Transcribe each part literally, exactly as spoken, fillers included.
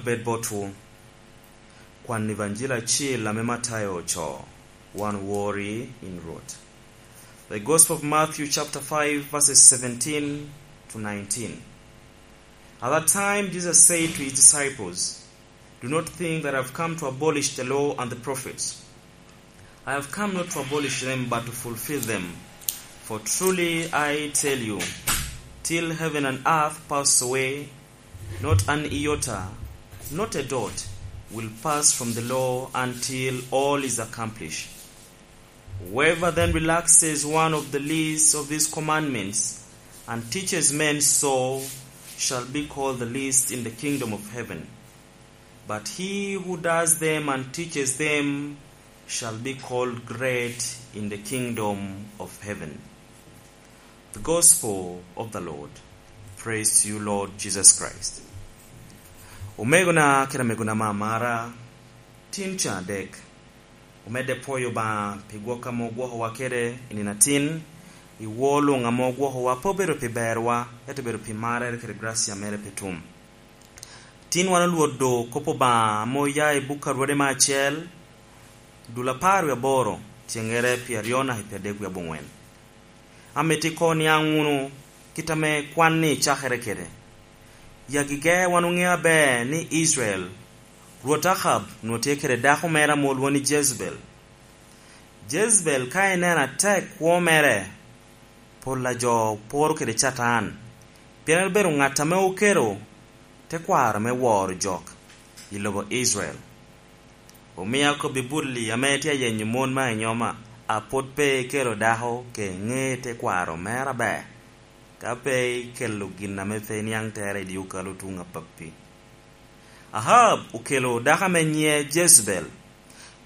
Bed botwu. Kwan Evanjil acil ame Matayo ocoo. Wan wori in Rwot. The Gospel of Matthew chapter five, verses seventeen to nineteen. At that time Jesus said to his disciples, "Do not think that I have come to abolish the law and the prophets. I have come not to abolish them, but to fulfill them. For truly I tell you, till heaven and earth pass away, not an iota, not a dot, will pass from the law until all is accomplished." Whoever then relaxes one of the least of these commandments and teaches men so shall be called the least in the kingdom of heaven. But he who does them and teaches them shall be called great in the kingdom of heaven. The Gospel of the Lord. Praise to you, Lord Jesus Christ. Omegona kede amegona ame amara, tin ca adek. Omedde pwoyo Obaŋa pi gwok ame ogwokowa kede i nino atin, i woo luŋ ame ogwokowa pe obedo pi berwa, ento obedo pi marrere kede gracia mere pe tum. Tin wan olwodo kop Obaŋa ame oya i buk a Rwode me acel, dul apar wie aboro, cengere pi aryo naka pi adek wie aboŋwen. Amito ikoŋ niaŋ wunu kit ame kwan-ni cakere kede. I agege wan oŋeo aber ni Israel, Rwot Akab onwoŋo tye kede dako mere ame olwoŋo ni Jezebel. Jezebel ka eneno atek kwo mere, pol a jo poro kede Catan, pien en obedo ŋat ame okelo tekwaro me woro jok i lobo Israel. Omio akobbi Bulli ame tye ayenyo mon me anyoma, a pwod pe ikelo dako ka iŋe tekwaro mere aber, ka pe ikelo gin ame pe iniaŋ tere i dye okalo tuŋ apappi. Ahab okelo dako ame nyiŋe Jezebel.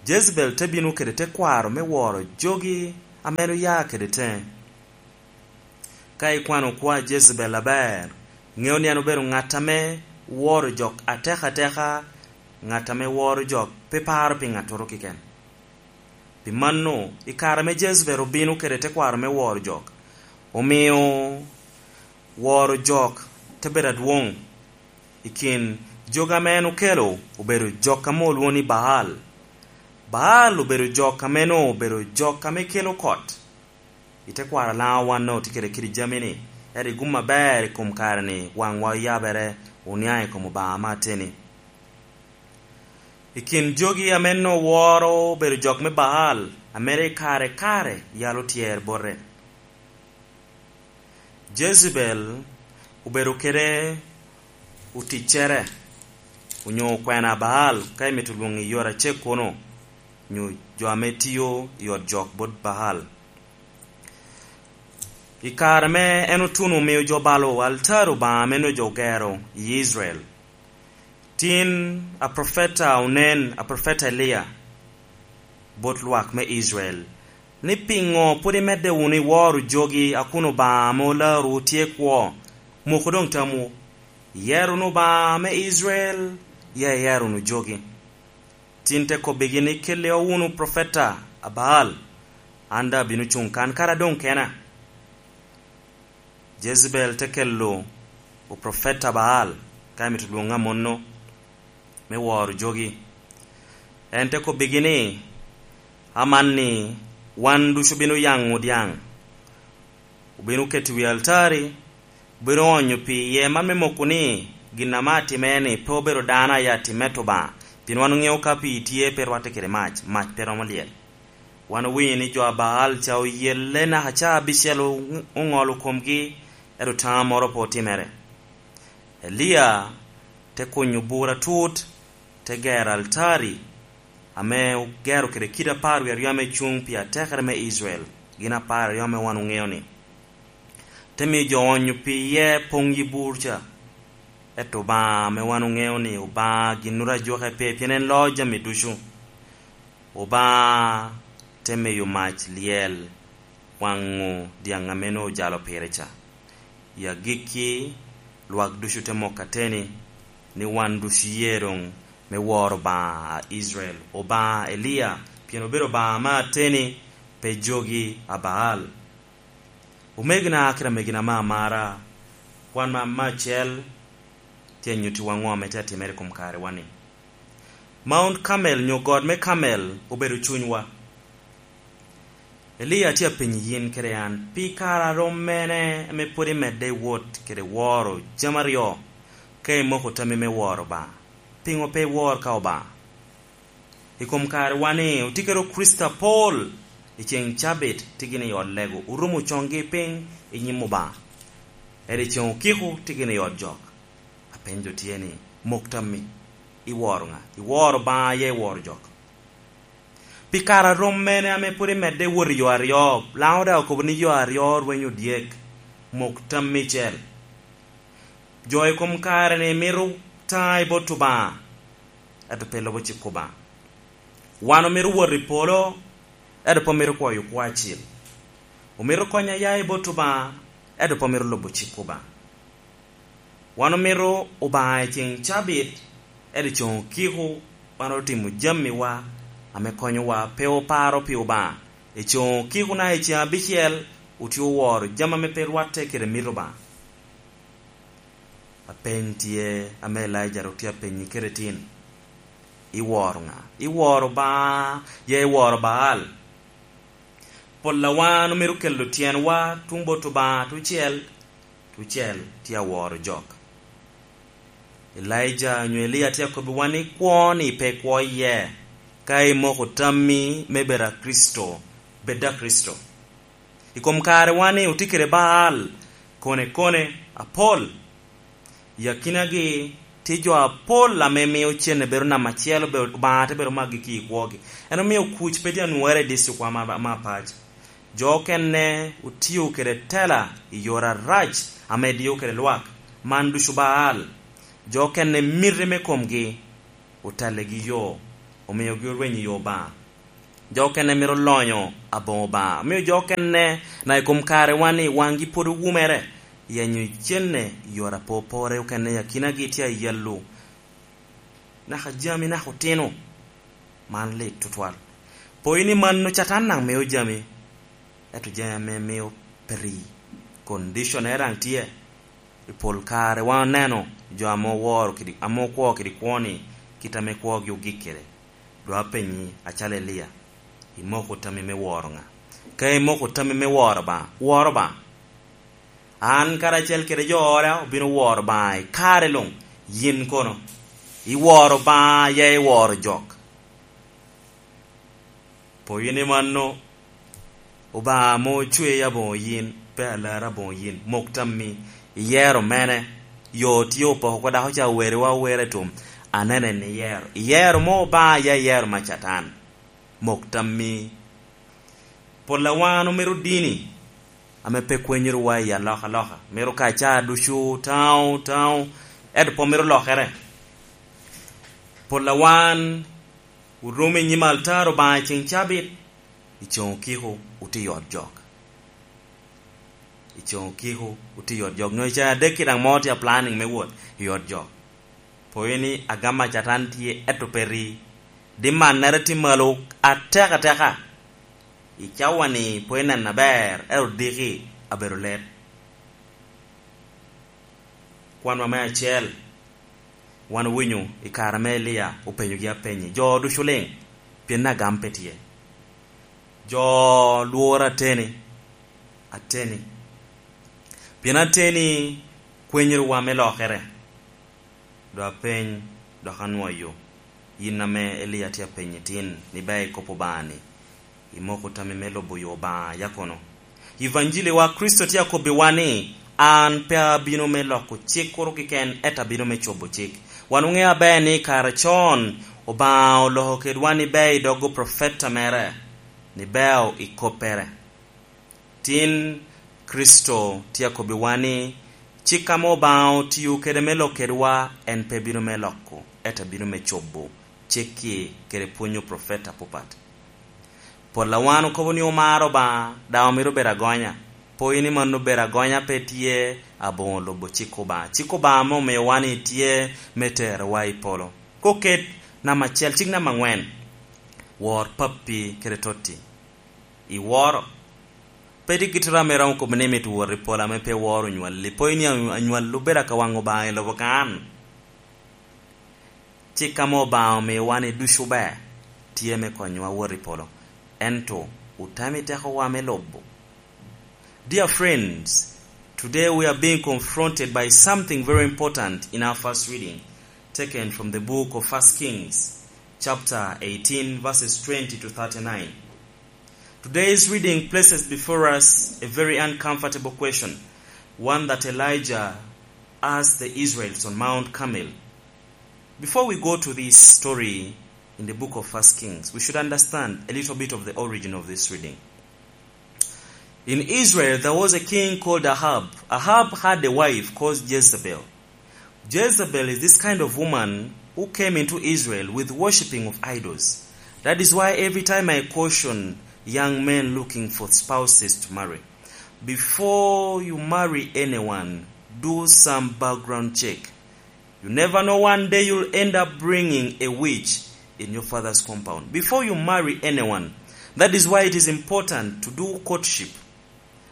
Jezebel te bino kede tekwaro me woro jogi ame en oya kede teŋe. Ka ikwano kwo a Jezebel aber, ŋeo ni en obedo ŋat ame woro jok atek ateka, ŋat ame woro jok pe paro pi ŋattoro keken. Pi mano, i kare ame Jezebel obino kede tekwaro me woro jok, omio woro jok te bedo adwoŋ. I kin jogi ame en okelo, obedo jok ame olwoŋo ni Baal. Baal obedo jok ame nwoŋo obedo jok ame kelo kot. I tekwaro Laŋo wan nwoŋo tye kede kidi jami-ni, ento i gum aber i kom kare-ni waŋwa oyabere, oniaŋ i kom Obaŋa ame ateni. I kin jogi ame nwoŋo woro obedo jok me Baal, ame rik kare kare yalo tyer bote. Jezebel obedo kede oticcere, onyo okwena a Baal, ka imito lwoŋo i yore acek kono, nyo jo ame tio i ot jok bot Baal. I kare ame en otuno omio jo balo altari Obaŋa ame nwoŋo jo ogero i Israel, tin aprofeta onen, aprofeta Elia, bot lwak me Israel, ni, "Piŋo pwod imedde wunu i woro jogi a kun Obaŋa ame olarwu tye kwo? Moku doŋ tamwu, iyer wunu Obaŋa me Israel, ya iyer wunu jogi." Tin te kobbigi ni, "Kelli wunu profeta a Baal, an daŋ abino cuŋ kan kara doŋ kena." Jezebel te kelo oprofeta Baal, ka emito lwoŋo amono, me woro jogi. En te kobbigi ni, "Amanni wan ducu obino yaŋo dyaŋ, obino keto i wi altari, obino onyo pi iye man me moko ni, gin ame atimere-ni pe obedo dano aye atimme to Obaŋa, pien wan oŋeo ka pii tye pe rwatte kede mac, mac pe romo lyel." Wan owinyo ni jo a Baal ca oyelle naka ca abicel o-, oŋolo komgi, ento taŋo moro pe otimere. Elia te kunyo bur atut, te gero altari, ame ogero kede kidi apar wie aryo ame cuŋ pi atekere me Israel, gin apar aryo ame wan oŋeo-ni. Te miyo jo onyo pi iye poŋ yi bur ca. Ento Obaŋa ame wan oŋeo ni Obaŋa ginnoro ajoke pe, pien en loo jami ducu. Obaŋa te miyo mac lyel waŋo dyaŋ ame nwoŋo ojalo pire ca. I agikki, lwak ducu te moko ateni ni wan ducu ye doŋ me woro Obaŋa a Israel, Obaŋa Elia, pien obedo Obaŋa ame ateni, pe jogi a Baal. Omegina kede amegina ame amara, kwan ma me acel Tye nyuttiwa ŋo ame tye atimere i kom karewa-ni? Mount Carmel nyo got me Carmel obedo cunywa. Elia tye apenyi yin kede an, pi kare a rom mene ame pwod imedde i wot kede woro jami aryo, ka imoko tammi me woro Obaŋa? Piŋo pe iwor ka Obaŋa? I kom karewa-ni, otye kede Kricito apol i ceŋ cabit tye gin i ot lego, orumo coŋgi piny i nyim Obaŋa. Ento i ceŋ okiko tye gin i ot jok. Apenyo tye ni, mok tammi, iworo ŋa? Iworo Obaŋa, ya iworo jok? Pi kare a rom mene ame pwod imedde wot i yo aryo? Laŋo daŋ okobo ni yo aryo rwenyo dyek. Mok tammi icel. Jo i kom kare-ni mito taŋ i bot Obaŋa, ento pe lubo cik Obaŋa. Wan omito wot i polo, ento pe omito kwoyo kwo acil. Omito kony a ya i bot Obaŋa, ento pe omito lubo cik Obaŋa. Wan omito Obaŋa i ceŋ cabit, ento i ceŋ okiko wan otimo jamiwa ame konyowa pe oparo pi Obaŋa. I ceŋ okiko na i ceŋ abicel otye oworo jami ame pe rwatte kede mito Obaŋa. Apeny tye ame Elaija ru tye apenyi kede tin. Iworo ŋa? Iworo Obaŋa, ya iworo Baal? Pol a wan omito kelo tyenwa tuŋ bot Obaŋa tucel, tucel tye aworo jok. Elaija onyo Elia tye akobbiwa ni kwo-ni pe kwo iye, ka imoko tammi me bedo a Kricito, bed a Kricito. I kom karewa-ni otye kede Baal, kone kone, apol. I akinagi tye jo apol ame mio cene bedo namba acel, obe-, Obaŋa te bedo maggi ki i kwogi. En omio kuc pe tye anwoŋere i dictrikwa ma, ma apac. Jo okene otio kede tela i yore arac ame dio kede lwak. Man ducu Baal. Jo okene miti me komgi otalligi yo, omiogi orwenyo i yo Obaŋa. Jo okene mito lonyo aboŋo Obaŋa. Omio jo okene na i kom karewa-ni waŋgi pwod owumere, yenyo cene i yore apopore okene i akinagi tye ayallo. Naka jami naka otino. Man lit tutwal. Poyi ni mano Catan daŋ mio jami, ento jami ame mio pe ri. Condition en daŋ tye. I pol kare wan oneno jo ame oworo kede, ame okwo kede kwo-ni, kit ame kwogi ogik kede. Dok apenyi, acalo Elia, imoko tammi me woro ŋa? Ka imoko tammi me woro Obaŋa, woro Obaŋa. An karacel kede jo ora obino woro Obaŋa i kare luŋ. Yin kono, iworo Obaŋa, ya iworo jok? Poyi ni mano, Obaŋa ame ocwei aboŋo yin, pe alar aboŋo yin. Mok tammi, iyero mene? Yo tye opoko oko dako ca oweriwa awera i tum. Anene ni iyero. Iyero mo Obaŋa, ya iyero ma Catan? Mok tammi. Pol a wan omito dini ame pe kwenyorowa i alokaloka. Mito ka ca ducu taŋo, taŋo, ento pe omito lokere. Pol a wan orum i nyim altar Obaŋa i ceŋ cabit, i ceŋ okiko otye i ot jok. I ceŋ okiko otye i ot jok. Nyo i ceŋ adek-ki daŋ mo tye a planning me wot i ot jok. Poyi ni agam a Catan tye, ento pe ri. Dimannere tye malo atek ateka. I cawa-ni pe ineno aber, ento diki abedo let. Kwanwa me acel, wan owinyo i kare ame Elia openyogi apenyi, jo ducu liŋ, pien agam pe tye. Jo lworo ateni, ateni. Pien ateni kwenyorowa me lokere. Dok apeny, dok anwoyo. Yin ame Elia tye apenyi tin, ni ber ikop Obaŋa-ni, imoko tammi me lubo yo Obaŋa ya kono? Evanjili wa Kricito tye akobbiwa ni, an pe abino me loko cik kuro keken, ento abino me cobo cik. Wan oŋeo aber ni kare con Obaŋa oloko kedwa ni ber i dog oprofeta mere, ni ber i koppere. Tin, Kricito tye akobbiwa ni, cik ame Obaŋa otio kede me lok kedwa en pe bino me loko, ento bino me cobo cik-ki kede pwony oprofeta apapat. Pol a wan okobo ni omaro Obaŋa, daŋ omito bedo agonya. Poyi ni mano bedo agonya pe tye, aboŋo lubo cik Obaŋa. Cik Obaŋa ame omiowa ni tye me terowa i polo. Koket namba acel, cik namba aŋwen, wor pappi kede totti. Iworo? Pe tye gittoro ame romo kobo ni mito wot i polo ame pe iworo onywalli. Poyi ni anywalli obedo akawaŋ Obaŋa i lobo kan. Cik ame Obaŋa omiowa ni ducu ber, tye me konyowa wot i polo, ento otamo i tekowa me lubo. Dear friends, today we are being confronted by something very important in our first reading, taken from the book of First Kings, chapter eighteen, verses twenty to thirty-nine. Today's reading places before us a very uncomfortable question, one that Elijah asked the Israelites on Mount Carmel. Before we go to this story in the book of First Kings, we should understand a little bit of the origin of this reading. In Israel, there was a king called Ahab. Ahab had a wife called Jezebel. Jezebel is this kind of woman who came into Israel with worshipping of idols. That is why every time I caution young men looking for spouses to marry, before you marry anyone, do some background check. You never know, one day you'll end up bringing a witch in your father's compound before you marry anyone. That is why it is important to do courtship.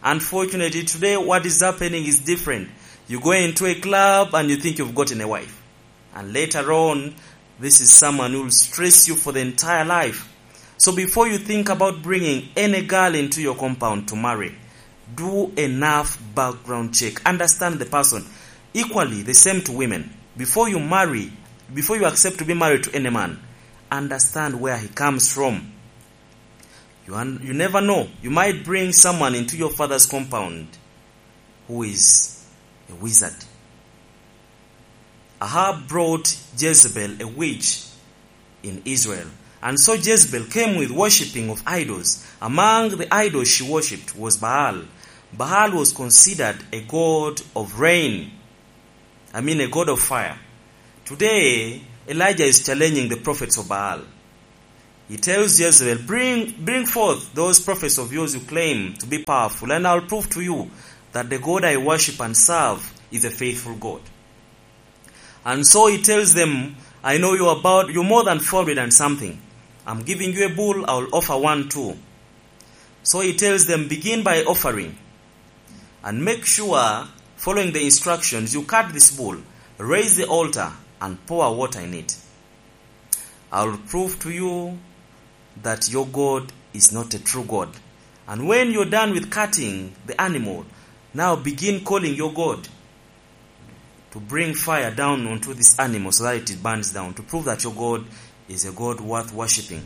Unfortunately, today what is happening is different. You go into a club and you think you've gotten a wife. And later on, this is someone who will stress you for the entire life. So before you think about bringing any girl into your compound to marry, do enough background check. Understand the person. Equally, the same to women. Before you marry, before you accept to be married to any man, understand where he comes from. You, un- you never know. You might bring someone into your father's compound who is a wizard. Ahab brought Jezebel, a witch, in Israel. And so Jezebel came with worshipping of idols. Among the idols she worshipped was Baal. Baal was considered a god of rain. I mean, a god of fire. Today, Elijah is challenging the prophets of Baal. He tells Jezebel, "Bring, bring forth those prophets of yours you claim to be powerful, and I'll prove to you that the God I worship and serve is a faithful God." And so he tells them, "I know you about, you're more than four hundred and something. I'm giving you a bull, I'll offer one too." So he tells them, "Begin by offering, and make sure, following the instructions, you cut this bull, raise the altar, and pour water in it. I will prove to you that your God is not a true God. And when you're done with cutting the animal, now begin calling your God to bring fire down onto this animal so that it burns down, to prove that your God is a God worth worshipping."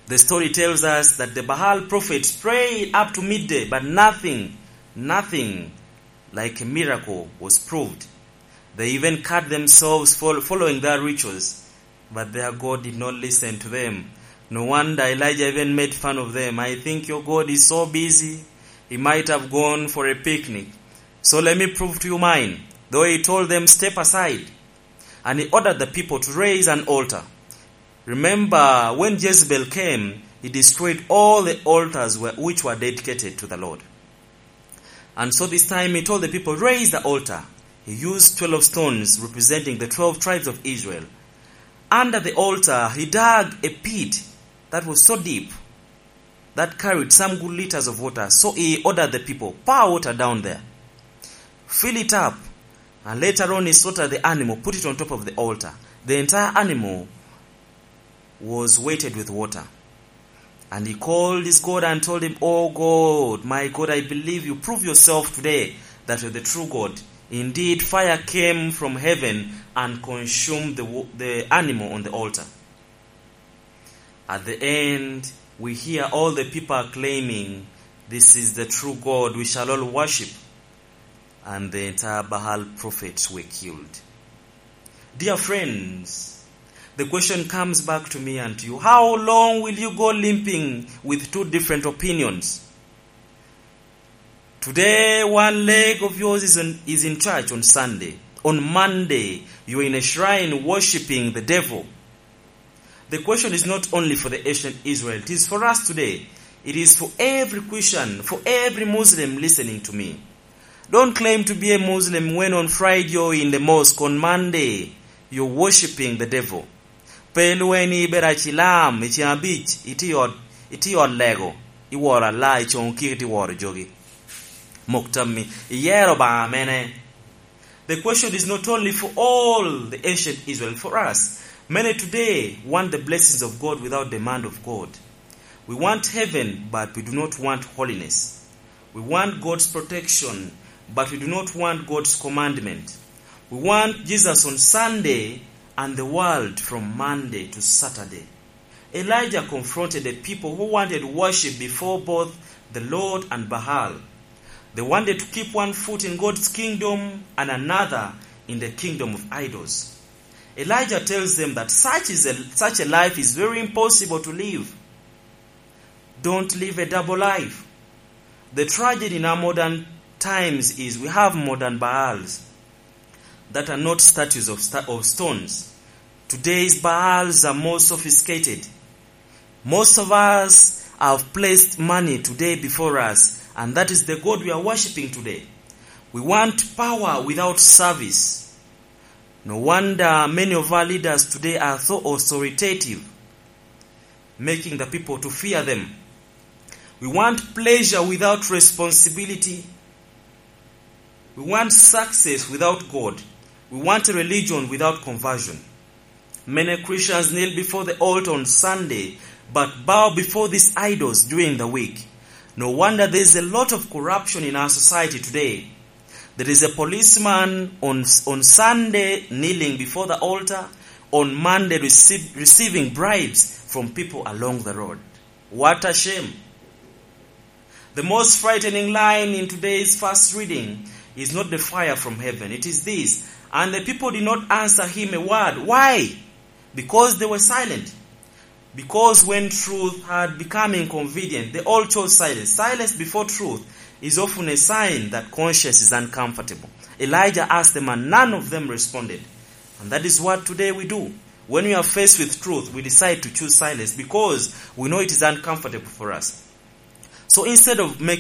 The story tells us that the Baal prophets prayed up to midday, but nothing, nothing like a miracle was proved. They even cut themselves fol- following their rituals, but their God did not listen to them. No wonder Elijah even made fun of them. "I think your God is so busy, he might have gone for a picnic. So let me prove to you mine." Though he told them, "Step aside." And he ordered the people to raise an altar. Remember, when Jezebel came, he destroyed all the altars were- which were dedicated to the Lord. And so this time he told the people, "Raise the altar." He used twelve stones representing the twelve tribes of Israel. Under the altar, he dug a pit that was so deep that carried some good liters of water. So he ordered the people, "Pour water down there. Fill it up." And later on, he slaughtered the animal, put it on top of the altar. The entire animal was weighted with water. And he called his God and told him, "Oh God, my God, I believe you. Prove yourself today that you're the true God." Indeed, fire came from heaven and consumed the, wo- the animal on the altar. At the end, we hear all the people are claiming, "This is the true God, we shall all worship." And the entire Baal prophets were killed. Dear friends, the question comes back to me and to you. How long will you go limping with two different opinions? Today, one leg of yours is in, is in church on Sunday. On Monday, you're in a shrine worshiping the devil. The question is not only for the ancient Israel, it is for us today. It is for every Christian, for every Muslim listening to me. Don't claim to be a Muslim when on Friday you're in the mosque, on Monday you're worshiping the devil. Pe lweny ni ibedo acilam i ceng abic, itye i ot, itye i ot lego, iworo ala, i coŋo kik itye woro jogi. Mok tammi, iyero Obaŋa mene? The question is not only for all the ancient Israel, for us. Many today want the blessings of God without demand of God. We want heaven, but we do not want holiness. We want God's protection, but we do not want God's commandment. We want Jesus on Sunday and the world from Monday to Saturday. Elijah confronted a people who wanted worship before both the Lord and Baal. They wanted to keep one foot in God's kingdom and another in the kingdom of idols. Elijah tells them that such is a, such a life is very impossible to live. Don't live a double life. The tragedy in our modern times is we have modern Baals that are not statues of, sta- of stones. Today's Baals are more sophisticated. Most of us have placed money today before us, and that is the God we are worshiping today. We want power without service. No wonder many of our leaders today are so authoritative, making the people to fear them. We want pleasure without responsibility. We want success without God. We want a religion without conversion. Many Christians kneel before the altar on Sunday, but bow before these idols during the week. No wonder there is a lot of corruption in our society today. There is a policeman on, on Sunday kneeling before the altar, on Monday receive, receiving bribes from people along the road. What a shame. The most frightening line in today's first reading is not the fire from heaven. It is this: "And the people did not answer him a word." Why? Because they were silent. Because when truth had become inconvenient, they all chose silence. Silence before truth is often a sign that conscience is uncomfortable. Elijah asked them, and none of them responded. And that is what today we do. When we are faced with truth, we decide to choose silence because we know it is uncomfortable for us. So instead of make,